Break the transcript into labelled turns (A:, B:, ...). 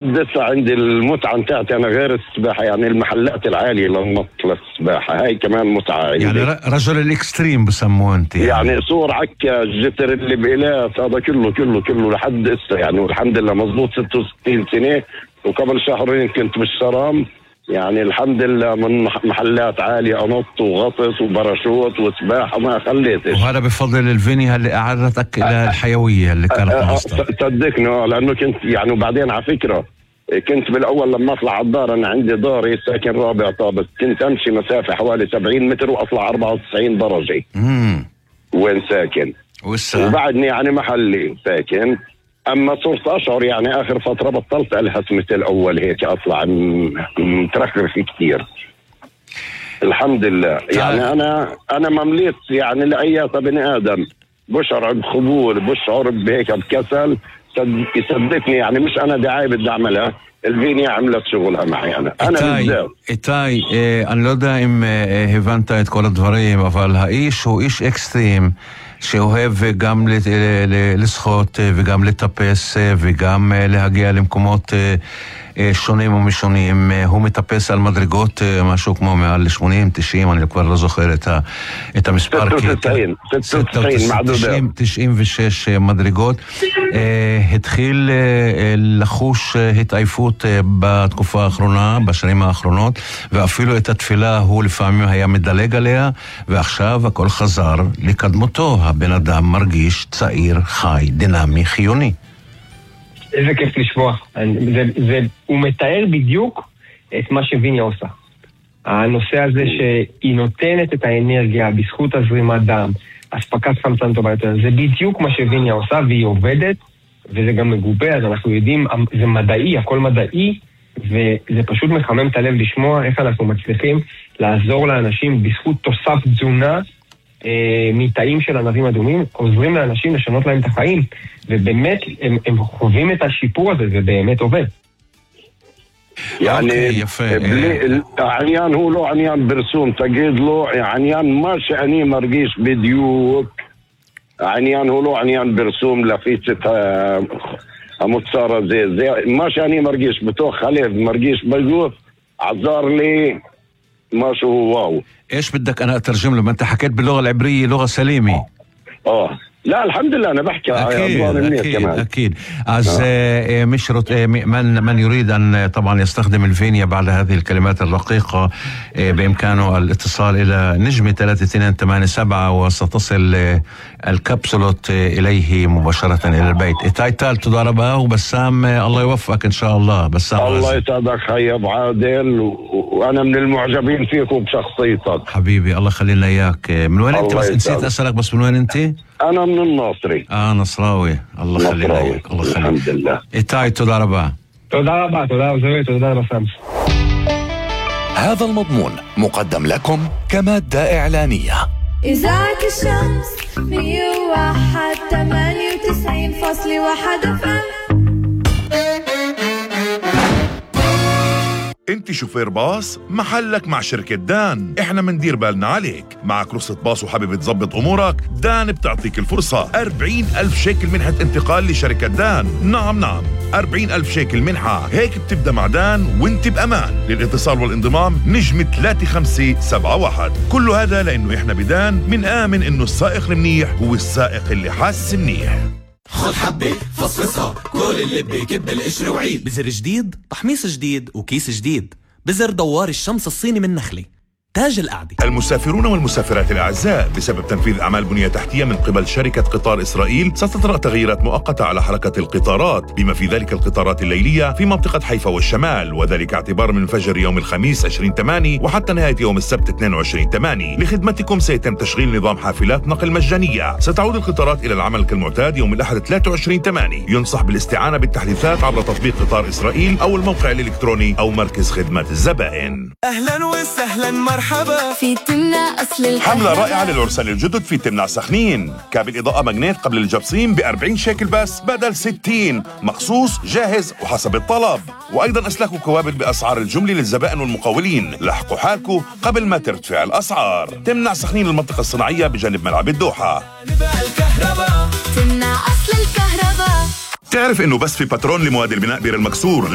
A: لسه عندي المتعة بتاعتي أنا غير السباحة، يعني المحلات العالية للنط للسباحة هاي كمان متعة عندي.
B: يعني رجل الإكستريم بسموه أنت
A: يعني صور عكا الجتر اللي بإلاف هذا كله لحد إسا يعني، والحمد لله مضبوط 66 سنة. وقبل شهرين كنت بالشرام، يعني الحمد لله من محلات عالية أنط وغطس وباراشوت وسباحة ما خليتش.
B: وهذا بفضل الفينيا اللي أعرتك إلى الحيوية اللي كانت
A: صدقني لأنه كنت يعني. وبعدين على فكرة كنت بالأول لما أطلع على الدار، أنا عندي داري ساكن رابع طابق، كنت أمشي مسافة حوالي 70 متر وأطلع 94 درجة. وين ساكن وبعدني يعني محلي ساكن. أما صرت أشعر يعني آخر فترة بطلت ألهث مثل أول هيك، أطلع مترخرف كتير الحمد لله. يعني أنا ممليت يعني لأي بني آدم بشعر بخبول، بشعر بهيك بكسل، يصدقني يعني مش أنا دعاية بدي أعملها، الفينيا عملت شغلها معي أنا بالذات.
B: إيتاي אני לא יודע אם הבנת את כל הדברים, אבל האיש הוא איש אקסטרים שאוהב גם לשחות וגם לטפס וגם להגיע למקומות שונים ומשונים. הוא מטפס על מדרגות משהו כמו מעל 80-90, אני כבר לא זוכר את המספר. 96 מדרגות. התחיל לחוש התעייפות בתקופה האחרונה, בשנים האחרונות, ואפילו את התפילה הוא לפעמים היה מדלג עליה, ועכשיו הכל חזר לקדמותו. הבן אדם מרגיש צעיר, חי, דינמי, חיוני.
C: איזה כיף לשמוע. הוא מתאר בדיוק את מה שוויניה עושה. הנושא הזה שהיא נותנת את האנרגיה בזכות הזרימת דם, הספקת חמצן טובה יותר, זה בדיוק מה שוויניה עושה, והיא עובדת, וזה גם מגובה, אז אנחנו יודעים, זה מדעי, הכל מדעי, וזה פשוט מחמם את הלב לשמוע איך אנחנו מצליחים לעזור לאנשים בזכות תוסף תזונה, מתאים של ענבים אדומים, עוזרים לאנשים לשנות להם את החיים, ובאמת הם חווים את השיפור הזה, זה באמת עובד.
A: يعني העניין הוא לא עניין ברסום, תגיד לו עניין מה שאני מרגיש בדיוק, העניין הוא לא עניין ברסום להפיץ את המוצר הזה, זה מה שאני מרגיש בתוך הלב, מרגיש בגוף, עזר לי משהו واو.
B: ايش بدك انا اترجم له؟ ما انت حكيت باللغه العبريه لغه سليمه.
A: لا الحمد لله أنا بحكي
B: أكيد. از من يريد أن طبعا يستخدم الفينيا بعد هذه الكلمات الرقيقة بإمكانه الاتصال إلى نجمة 3287 وستصل الكبسولة إليه مباشرة إلى البيت. إيتاي تال تدار ربا وبسام الله يوفقك إن شاء الله. بسام
A: الله يسعدك خي أبو عادل، وأنا من المعجبين فيك وبشخصيتك
B: حبيبي. الله يخلينا إياك. من وين أنت؟ بس نسيت أسألك، بس من وين أنت؟
A: أنا من الناصري.
B: نصراوي. الله يخلينا إياك. الله يخليك.
A: الحمد لله.
B: إيتاي تدار ربا.
C: تدار ربا. تدار ربا.
D: هذا المضمون مقدم لكم كمادة إعلانية.
E: إذاعة الشمس 101.98.1 FM.
F: انت شوفير باص؟ محلك مع شركة دان. احنا مندير بالنا عليك. معك رخصة باص وحابب تظبط امورك؟ دان بتعطيك الفرصة. 40,000 شيكل منحة انتقال لشركة دان. نعم 40,000 شيكل منحة. هيك بتبدأ مع دان وانت بأمان. للاتصال والانضمام نجمة 3571. كل هذا لانه احنا بدان منآمن انه السائق المنيح هو السائق اللي حاس منيح.
G: خد حبة فصفصها، كل اللي بيكب القشر وعيد. بزر جديد، تحميص جديد، وكيس جديد. بزر دوار الشمس الصيني من نخلة، تاج القعدة.
F: المسافرون والمسافرات الأعزاء، بسبب تنفيذ أعمال بنية تحتية من قبل شركة قطار إسرائيل ستطرأ تغييرات مؤقتة على حركة القطارات، بما في ذلك القطارات الليلية في منطقة حيفا والشمال، وذلك اعتبار من فجر يوم الخميس 20/8 وحتى نهاية يوم السبت 22/8. لخدمتكم سيتم تشغيل نظام حافلات نقل مجانية. ستعود القطارات إلى العمل كالمعتاد يوم الأحد 23/8. ينصح بالاستعانة بالتحديثات عبر تطبيق قطار إسرائيل أو الموقع الإلكتروني أو مركز خدمة الزبائن.
G: أهلا وسهلا مرحبا
E: في تمنع أصل الكهرباء.
F: حملة رائعة للعرسان الجدد في تمنع سخنين. كابل إضاءة ماجنيت قبل الجبصين ب40 شيكل بس بدل 60، مخصوص جاهز وحسب الطلب. وأيضا أسلاك وكوابل بأسعار الجملة للزبائن والمقاولين. لحقوا حالكم قبل ما ترتفع الأسعار. تمنع سخنين المنطقة الصناعية بجانب ملعب الدوحة.
E: تمنع أصل الكهرباء.
F: تعرف انه بس في باترون لمواد البناء بير المكسور